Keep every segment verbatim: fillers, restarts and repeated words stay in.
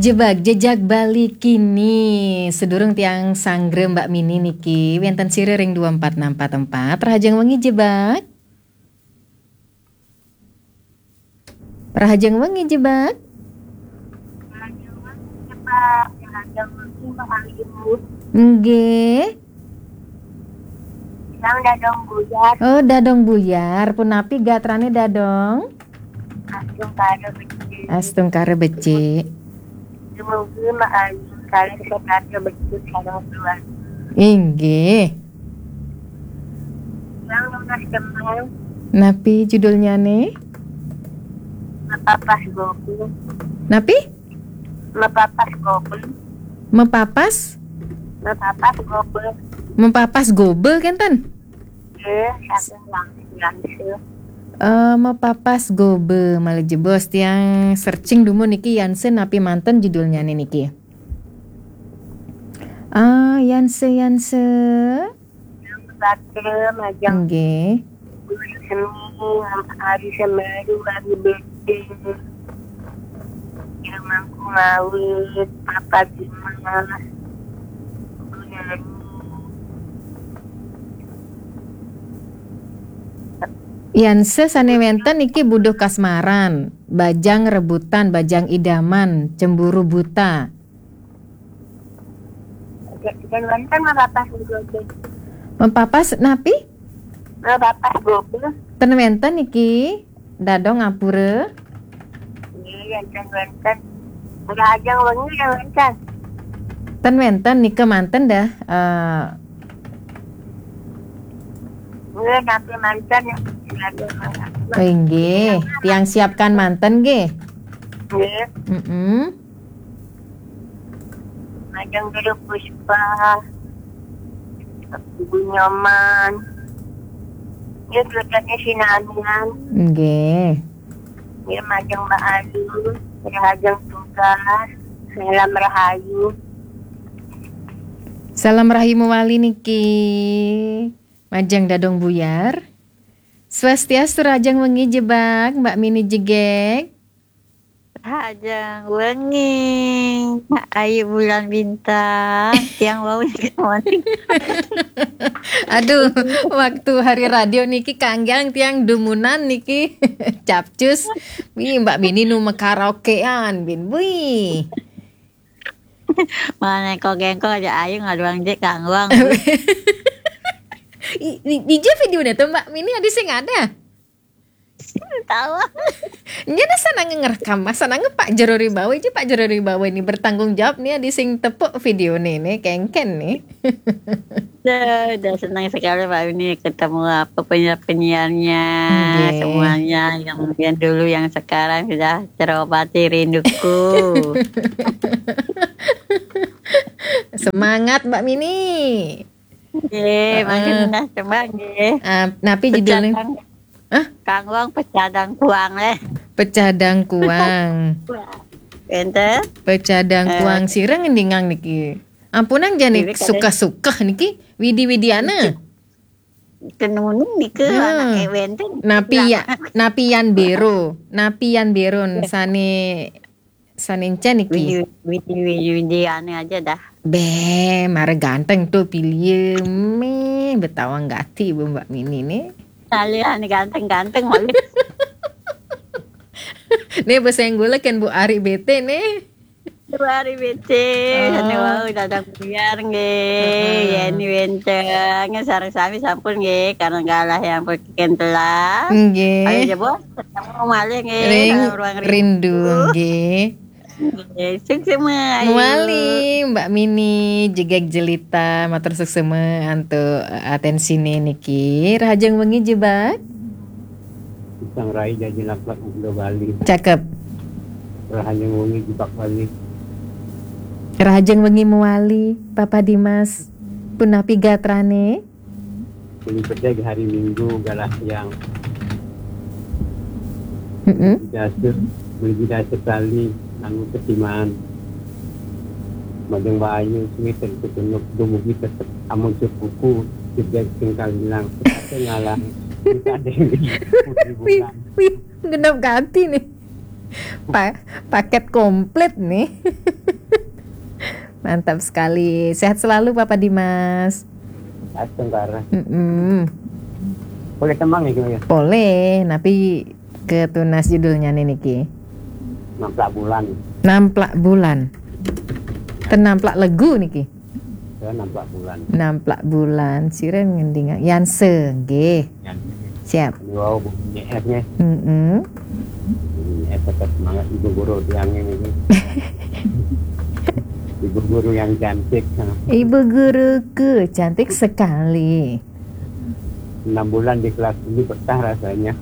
Jebak jejak Bali kini. Sedurung tiang sanggra Mbak Mini niki, wénten sira ring dua empat enam empat empat. Rahajeng wengi, Jebak. Rahajeng wengi, Jebak. Rahajeng wengi, Mbak Ayu. Nggih. Tiang Dadong Buyar. Oh, Dadong Buyar. Punapi gatrané, Dadong? Astungkara becik. Astungkara becik. Dumugi Mbak Ayu kalih sekeluarga becik sareng keluarga. Inggih. Tiang nunas tembang. Napi judulnyané? Mepapas Gobe. Napi? Mepapas Gobe. Mepapas? Mepapas Gobe. Mepapas Gobe, kénten? Nggih, saking Yang-, Yanse. Eh, Mepapas Gobe, malih jebos tiang searching dumun niki, Yanse napi manten judulnyané niki? Ah, Yanse, Yanse. Yang Batra, majeng. Nggih. Guru seni, Ari Semeru, Ari Beding. Yang Mangku Mawit, Papa Dimas, Guru Nani. Yanse sané wénten niki Buduh Kasmaran, Bajang Rebutan, Bajang Idaman, Cemburu Buta. Ten wénten Mepapas Gobe. Mepapas napi? Mepapas Gobe. Ten wénten niki, Dadong, ngapura. Nggih, ten wénten. Rahajeng wengi ten wénten. Ten wénten nika manten dah. Eh, Nggih, napi manten ya. Inggih, tiang siapkan manten nggih. Nggih. Mm-mm. Majeng Guru Puspa, Ibu Nyoman. Nggih, keluarganya Sinamian. Nggih. Nggih, majeng Mbak Ayu, rahajeng tugas, salam rahayu. Salam rahayu mawali niki. Majeng Dadong Buyar. Swastiastu, rahajeng wengi Jebak, Mbak Mini jegég. Rahajeng wengi, Ayu Bulan Bintang. Tiang wau niki. Aduh, waktu hari radio niki kanggiang tiang dumunan niki. Capcus. Wih, Mbak Mini nu makaraokean, bin. Wih. Mana kok gengkol aja Ayu ngaduang jek kangguang. I-, di, di je video tuh Mbak Mini ada sing ada. Tahu. Nya dah sana ngerekam, sana nge Pak Jero Ribawa, je Pak Jero Ribawa ini bertanggung jawab nih, ada sing tepuk video nih, nih, kengken nih. Dah, dah senang sekali Pak ini ketemu apa penyiar-penyiarnya, nggih, semuanya yang, yang dulu, yang sekarang sudah terobati rinduku. Semangat Mbak Mini. Nggih, heeh, mangkin dah coba nggih. Ah, napi judulnya? Pecah dang-, hah? Kangguang pecah dangkuang leh. Pecah dangkuang. Enten? Pecah dangkuang. Eh. Sira ngendingang niki. Ampunang jani suka-suka niki, widi-widiana. Tenunung nika, hmm, anak ewen ten. Napi ya, napi yan bero, napi yan beron, ya, sane, sane encan niki. Widi, widi, widi, widi ane aja dah. Be, mara ganteng tuh pilih me, betawang gati Bu Mbak Mini nih. Kalian ganteng-ganteng malu. Nih besenggula kan Bu Ari bete nih. Dua hari becik, oh, sane wau Dadang Buyar nggih. Heeh. Yeni wénten, sareng sami sampun nggih, karena galah yang perkiken telah. Nggih. Ayo, jebos, ketemu malih nggih, ring dalam ruang rindu, rindu nggih. Nggih, suksema, ayo. Mawali, Mbak Mini, jegeg jelita, matur suksema antuk, eh, atensine niki. Rahajeng wengi, Jebak. Pisang rai jaji laklak Indo Bali. Cakep. Rahajeng wengi Jebak Bali. Rahajeng wengi mawali, Papa Dimas. Punapi gatrane? Muli bedeg hari Minggu galah yang. Mm-mm. Dasar, muli dasar kali nanggu ketimaan. Majeng Bayu, sumiten ketunuk, dumugi tetep amun cukuku, jedeg sing kalilang, kate ngalang, kita deng, putri bulan. Wih, genep ganti nih. Pa- paket komplit nih. Mantap sekali. Sehat selalu Papa Dimas. Astungkara. Mm-mm. Boleh tembang nih, Yu? Boleh, tapi ketunas judulnya nih niki. Namplak bulan. Namplak bulan. Ten namplak legu niki. Ya, namplak bulan. Namplak bulan. Sira ngending Yanse nggih. Ya. Siap. Wow, bunyi es nih. Mm-mm. Bunyi es tetap semangat ibu guru tiang ini. Ibu guru yang cantik. Nah, Ibu guruku cantik sekali. Enam bulan di kelas ini betah rasanya.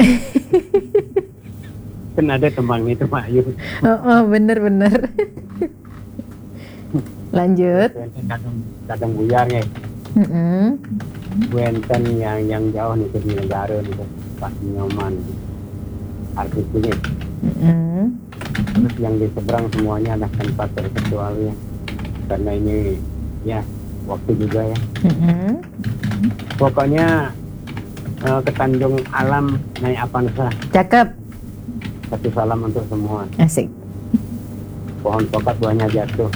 Kan ada tembang itu, Mak Yu. Oh, oh, bener-bener. Lanjut. Kadang, kadang buyar nih. Mm-mm. Wenten yang yang jauh nih di negara nih, Pak Nyoman. Artis ini. Mm-mm. Terus yang di seberang semuanya ada tanpa terkecuali ya. Karena ini ya waktu juga ya. Mm-mm. Pokoknya eh, ke Tanjung Alam naik Avanza. Cakep. Satu salam untuk semua. Asik. Pohon pokat buahnya jatuh.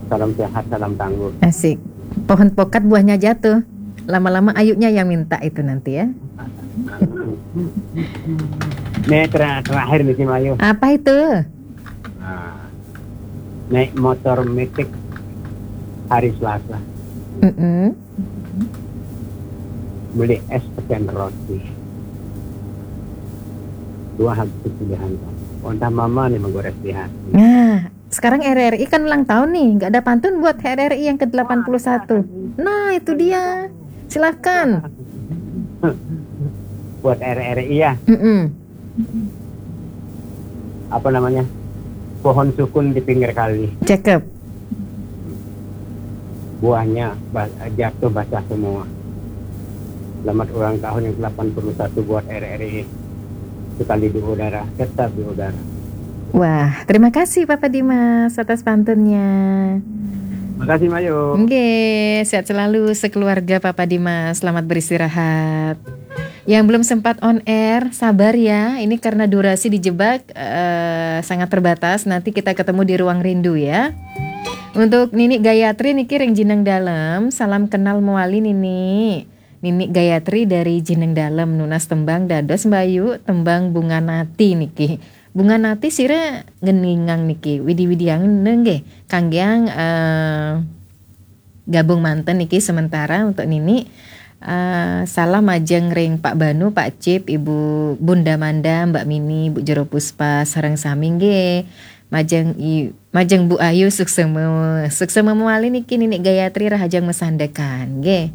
Salam sehat, salam tangguh. Asik. Pohon pokat buahnya jatuh. Lama-lama ayunya yang minta itu nanti ya. Nih ter- terakhir nih, Mak Yu. Apa itu? Nah, naik motor metik hari Selasa. Mm-mm. Beli es pecel roti. Dua habis pilihan. Entah mama nih menggores di hati. Nah, sekarang R R I kan ulang tahun nih, nggak ada pantun buat R R I yang ke delapan puluh satu. Nah, itu dia. Silakan. Buat R R I ya, Mm-mm. apa namanya? Pohon sukun di pinggir kali. Cakep. Buahnya ba- jatuh basah semua. Selamat ulang tahun yang delapan puluh satu buat R R I. Sekali di udara, tetap di udara. Wah, terima kasih Papa Dimas atas pantunnya. Makasih, Mak Yu. Oke, sehat selalu sekeluarga Papa Dimas. Selamat beristirahat. Yang belum sempat on air, sabar ya. Ini karena durasi dijebak eh, sangat terbatas. Nanti kita ketemu di ruang rindu ya. Untuk Nini Gayatri niki ring Jineng Dalem, salam kenal mewali Nini. Nini Gayatri dari Jineng Dalem nunas tembang dados mbayu tembang Bunga Nati niki. Bunga Nati sira ngeningang niki widi-widiang nggih kanggeang eh, gabung manten niki sementara untuk Nini. Eh, salam majeng ring Pak Banu, Pak Cip, Ibu Bunda Manda, Mbak Mini, Bu Jero Puspa, sareng sami nggih. Majeng i, majeng Bu Ayu suksema. Suksema mewali niki Nini Gayatri rahajeng masandekan nggih.